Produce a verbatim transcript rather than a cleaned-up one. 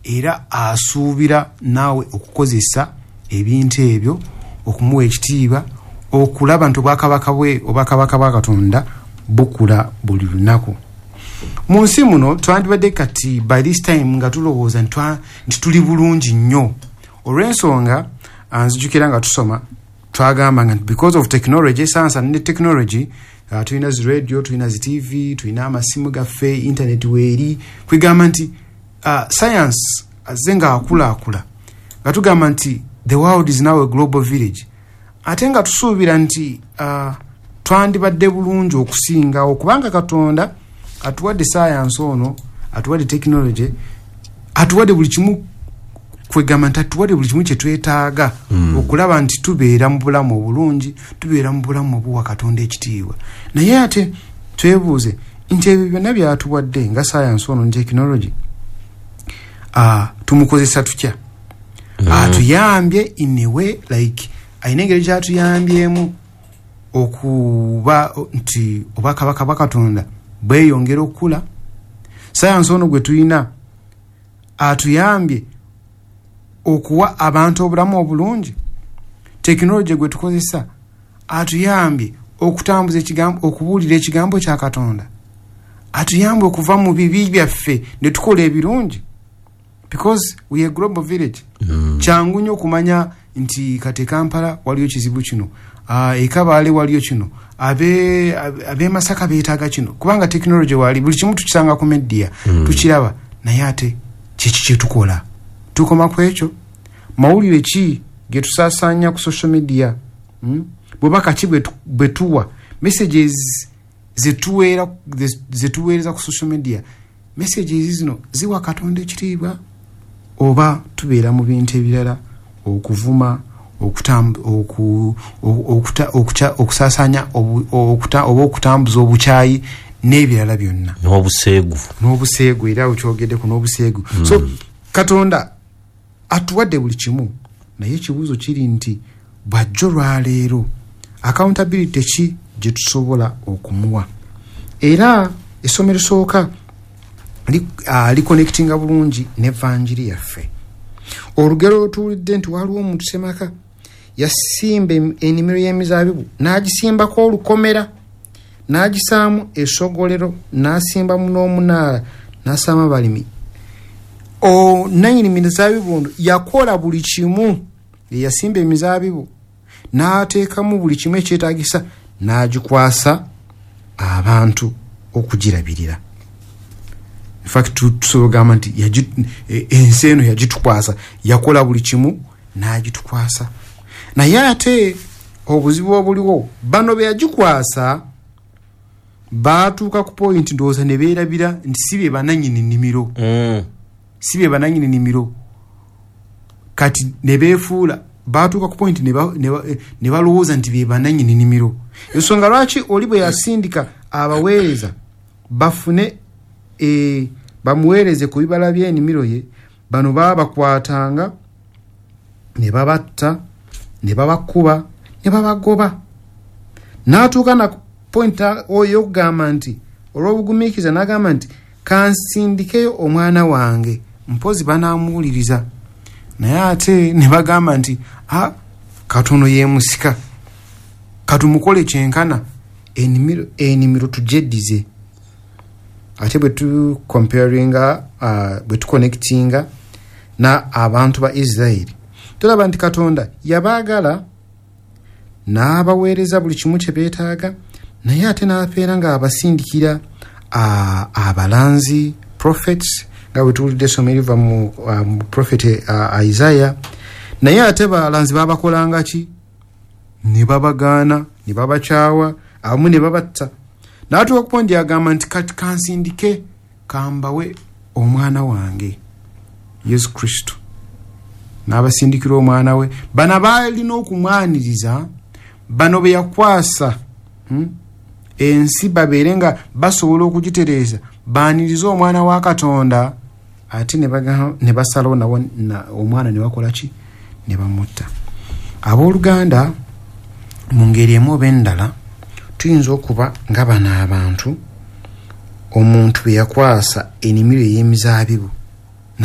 Era asuubira naawe okukozesa ebintu ebyo okumuwa ekitiibwa, okulaba nti obwakabaka bwe, obwakabaka bwa Katonda bukula buli lunaku. Mu nsi muno twandibadde kati by this time nga tulowooza nti tuli bulungi nnyo, olw'ensonga nzijukira nga tusoma twagamba nga because of technology, science and technology, uh, tulina zi radio, tulina zi T V, tulina amasimu gaffe, internet weeri, kwegamba nti uh, science azze nga akulaakula, nga tugamba nti the world is now a global village, ate nga tusuubira nti uh, twandibadde bulungi okusingawo, kubanga Katonda atuwadde science ono, atuwadde technology, atuwadde buli kimu, kwegamba nti atuwadde buli kimu kyetwetaaga mm. okulaba nti tubeera mu bulamu obulungi, tubeera mu bulamu obuwa Katonda ekitiibwa. Naye ate twebuuze nti ebyo byonna byatuwadde nga science ono ne technology, uh, tumukozesa tutya? mm. Atuyambye in a way, like ayina engeri gyatuyambyemu okuba nti obwakabaka bwa Katonda bweyongera okukula. Science ono gwe tulina atuyambye okuwa abantu obulamu obulungi. Tekinologi gwe tukozesa atuyambye okutambuza ekigambo, okubuulira ekigambo kya Katonda, atuyambye okuva mu bibi byaffe ne tukola ebirungi, because we are global village. mm. Kyangu nnyo okumanya nti kati Kampala waliyo kizibu kino, uh, e Kabaale waliyo kino, abe abe Masaka beetaaga kino, kubanga tekinologi wali, buli kimu tukisanga ku media, mm. tukiraba. Naye ate kiki kyetukola? Tukoma ku ekyo? Mawulire ki ge tusaasaanya ku social media? mm? Bubaka ki bwe tuwa? Messages zetuweera zetuweereza ku social media, messages zino ziwa Katonda ekitiibwa oba tubeera mu bintu ebirala, okuvuma, okusaasaanya oba okutambuza obukyayi n'ebirala byonna, n'obuseegu, n'obuseegu, era okyogeddeko n'obuseegu. mm. So Katonda atuwadde buli kimu, naye ekibuuzo kiri nti bwajjo lwaleero accountability ki gye tusobola okumuwa? Era essomo erisooka liconnectinga bulungi n'evanjiri yaffe. Olugero olutuulidde nti waliwo omuntu semaka yasimba ennimiro y'emizaabibu, n'agisimbako olukomera, n'agisaamu essogolero, n'asimbamu n'omunaala, n'asaamu abalimi. Nanyini mizaabibu ono yakola buli kimu, yasimba emizaabibu n'ateekamu buli kimu ekyetaagisa, n'agikwasa abantu okugirabirira. In fact tusobola okugamba nti ensi eno yagitukwasa, yakola buli kimu n'agitukwasa. Naye ate obuzibu obuliwo, bano be yagikwasa baatuuka ku point ndowooza ne beerabira nti si be banannyini nnimiro, mm. si be banannyini nnimiro. Kati ne beefuula, baatuuka ku point ne balowooza nti be banannyini nnimiro. Ensonga lwaki oli bwe yasindika abaweereza bafune e, bamuweereze ku bibala by'ennimiro ye, bano baabakwatanga ne babatta, ne babakuba, ne babagoba. N'atuuka na point ey'okugamba nti olw'obugumiikiriza n'agamba nti kansindikeyo omwana wange, mpozi banaamuwuliriza. Naye ate ne bagamba nti a katono yeemusika, katumukole kyenkana, ennimiro ennimiro tugyeddize. Ate bwe tucomparinga, uh, bwe tuconnectinga na abantu ba Isirayiri, tulaba nti Katonda yabaagala n'abaweereza buli kimu kye beetaaga, naye ate n'apeera ng'abasindikira abalanzi, prophets, nga bwe tuwulidde essomo eriva mu, uh, mu prophet uh, Isaiah. Naye ate balanzi babakolanga ki? Ne babagaana, ne babakyawa, abamu ne babatta. N'atuuka ku point agamba nti kati kansindike kambawe omwana wange Yesu Kristo. N'abasindikira omwana we. Bano baalina okumwaniriza, bano be yakwasa hmm? ensi babeere nga basobola okugitereeza, baanirize omwana wa Katonda, ate ne basalawo nawo omwana ne bakola ki? Ne bamutta. Abooluganda, mu ngeri emu oba endala tuyinza okuba nga bano abantu omuntu be yakwasa ennimiro ey'emizaabibu